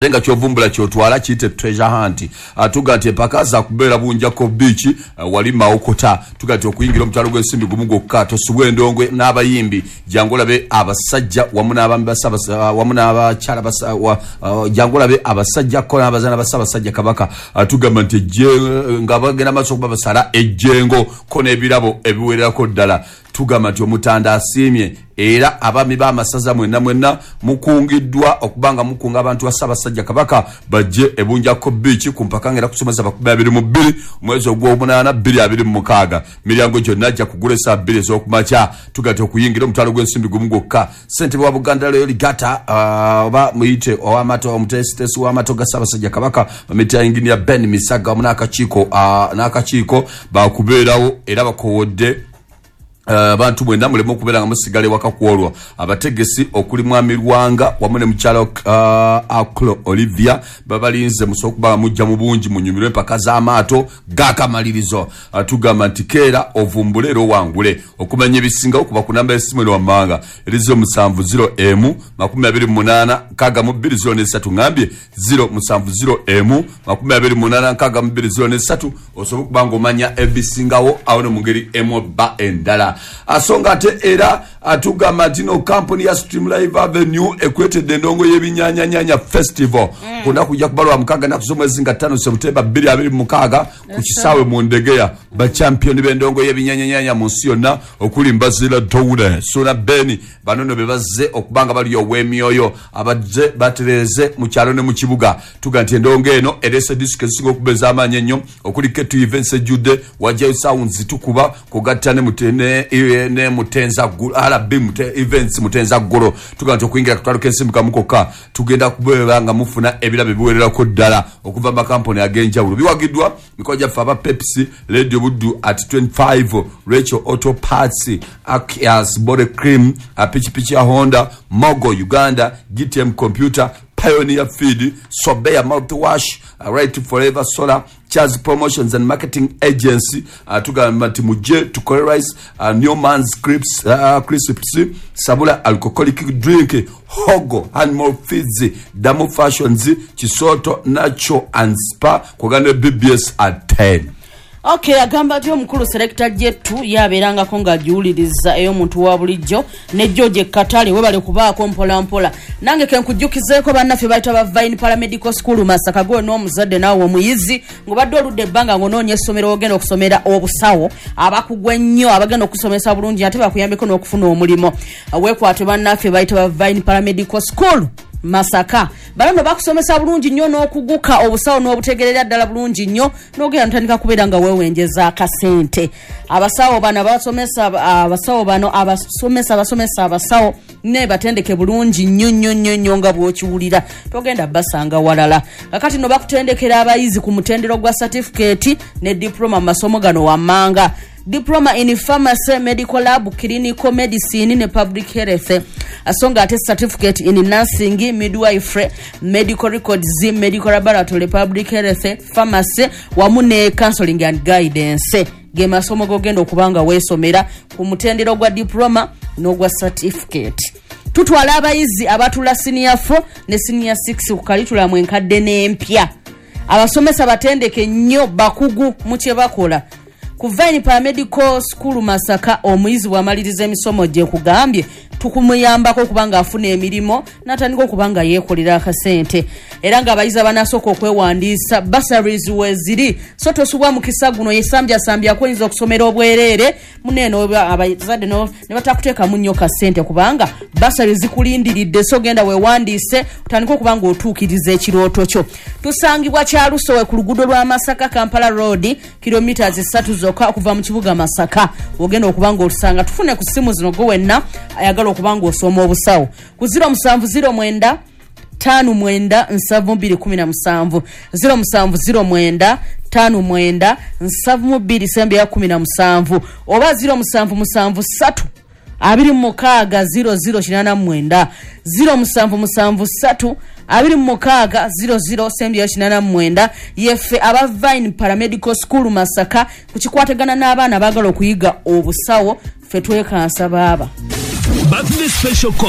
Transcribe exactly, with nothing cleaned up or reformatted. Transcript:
Nga kyovumbula kyotwala kiyite treasure hunt. Tuga nti empaka za kubeera Bunjako Beach, uh, wali Mawokota. Tuga nti okuyingira omutwalo gw'ensimbi gumu gwokka. Tosubwa endongo n'abayimbi, jangu olabe abasajja wamu n'abaami ba, wamu n'abakyala, uh, jangu olabe abasajja ko n'abazaana ba Ssaabasajja Kabaka. uh, tugamba nti nga bagenda maaso okuba basala ejjengo ko n'ebirabo ebiwererako ddala. Tugamba nti Omutanda asiimye era abaami b'amasaza mwenna mwenna mukungiddwa okubanga mukunga abantu ba Ssaabasajja Kabaka bajje eBunjako Beach ku mpaka ngera kusomesa makumi abiri mu bbiri omwezi ogw'omunaana bbiri abiri mu mukaaga. Miryango gyonna ajja kugula essaawa bbiri ez'okumakya. Tugati okuyingira omutwalo gw'ensimbi gumu gwokka. Ssentebe wa Buganda Royal Regatta, oba muyite ow'amaato, omuteesiteesi w'amaato ga Ssaabasajja Kabaka, bamuyita Engineer Ben Misaga, wamu n'akakiiko n'akakiiko bakubeerawo era bakowodde abantu uh, mwenna muleme okubeera nga musigala ewaka kwolwo. Abategesi okuli Mwami Lwanga wamu ne mukyala uh, Aklo Olivia babalinze musobola okuba nga mujja mu bungi munyumirwe empaka z'amaato g'akamalirizo. uh, tugamba nti keera ovumbule era owangule. Okumanya ebisingawo kuba ku namba y'essimu eno wammanga eri zero musanvu zero emu makumi abiri mu munaana nkaaga mu bbiri zero n'essatu. Ngambye zero musanvu zero emu makumi abiri mu munaana nkaaga mu bbiri zero n'essatu osobola okuba ng'omanya ebisingawo awo ne mu ngeri emu ba endala. Asonga ate era atugamba nti no kampuni ya Stream Live Avenue ekwetedde endongo y'ebinnyanyanyanya festival mm. Kuna kujja kubalwa mukaaga nnaku z'omwezi nga ttaano September bbiri abiri mu mukaaga ku kisaawe mu Ndegeya. Bachampiyoni b'endongo y'ebinnyanyanyanya mu nsi yonna okuli Mbazira Downe, Suna Beni, bano nno be bazze okubanga bali ow'emyoyo abazze batereeze mu kyalo ne mu kibuga. Tuga nti endongo eno ereese disiko ezisinga okuba ez'amaanyi ennyo okuli K two Events ejjudde, Wajjayo Sounds tukuba kugatta ne mutene ne Mutenza R B Events Mutenza Ggolo. Tuga nti okuyingira akatwalo k'ensimbi kamu kokka tugenda kubeera nga mufuna ebirabo ebiwererako ddala okuva mu makampuni ag'enjawulo. Biwagiddwa mikono gyaffe aba Pepsi, Radio Buddu at twenty-five, Rachel Auto Parts, Akias Body Cream, Pikipiki ya Honda, Mogo Uganda, G T M Computer, Pioneer Feed, Sobea Mouthwash, Right Forever Solar, Charles Promotions and Marketing Agency, uh, tugamba nti mujje tukole rice, uh, Newman's Crisps, uh, Crisps, Sabula Alcoholic Drink, Hogo Animal Feeds, Damu Fashions, Chisoto Nacho and Spa, kuganda B B S at ten. Okay, agamba ati omukulu Selector Jetu yabeerangako ng'agiwuliriza ey'omuntu wa bulijjo ne George Katale webale kubaako mpola mpola. Nange ke nkujjukizeeko bannaffe bayita ba Vine Paramedical School Masaka, gwe n'omuzadde naawe omuyizi ng'obadde oludde ebbanga ng'onoonya essomero ogenda okusomera obusawo, abakugu ennyo abagenda okusomesa bulungi ate bakuyambeko n'okufuna omulimu. Weekwate bannaffe bayita ba Vine Paramedical School Masaka. Bano bakusomesa bulungi nnyo n'okuguka obusawo n'obutegerera ddala bulungi nnyo n'ogenda ntandika kubeera nga weewenjeza akasente. Abasawo bano abasomesa abasawo bano abasomesa abasomesa abasawo ne batendeke bulungi nnyo nnyo nnyo nnyo nga bw'okiwulira togenda basanga walala. Kakati no bakutendekera abayizi ku mutendero gwa certificate ne diploma mu masomo gano wammanga: Diploma in Pharmacy, Medical Lab, Clinical Medicine ne Public Health. Asonga ate certificate in Nursing, Midwifery, Medical Records, Medical Laboratory, Public Health, Pharmacy, wamu ne Counseling and Guidance. Ge masomo gogenda okubanga weesomera ku mutendero gwa diploma n'ogwa certificate. Tutwala abayizi abatula senior four ne senior six ku curriculum enkadde n'empya. Abasomesa batendeke nnyo bakugu mu kye bakola. Ku Vine Paramedical School Masaka omuyizi bw'amaliriza emisomo gye kugambye tukumuyambako okubanga afuna emirimu n'atandika okubanga yeekolera akasente. Era ng'abayizi abanasooka okwewandiisa bursaries weeziri, so tosubwa mukisa guno yesambyasambya oyinza okusomera obwereere muneeno abazadde ne batakuteekamu nnyo kasente kubanga bursaries zikulindiridde, so genda weewandiise otandike okuba ng'otuukiriza ekirooto kyo. Tusangibwa Kyalusowe ku luguudo lwa Masaka Kampala Road, kilomita ssatu zokka okuva mu kibuga Masaka. Ogenda okuba ng'otusanga. Tufune ku ssimu zino gwe wenna ayagala okuba ng'osoma obusawo ku zero musanvu zero mwenda tano mwenda nsanvu bbiri kumi na musanvu, zero musanvu zero mwenda tano mwenda nsanvu bbiri sembe ya kumi na musanvu, oba zero musanvu musanvu ssatu abiri mu mukaaga zero zero kinaana mu mwenda, zero musanvu musanvu ssatu abiri mu mukaaga zero zero sembe ya kinaana mu mwenda. Yeffe aba Vine Paramedical School Masaka ku kikwatagana n'abaana abaagala okuyiga obusawo, ffe twekansa baaba. Birthday special call.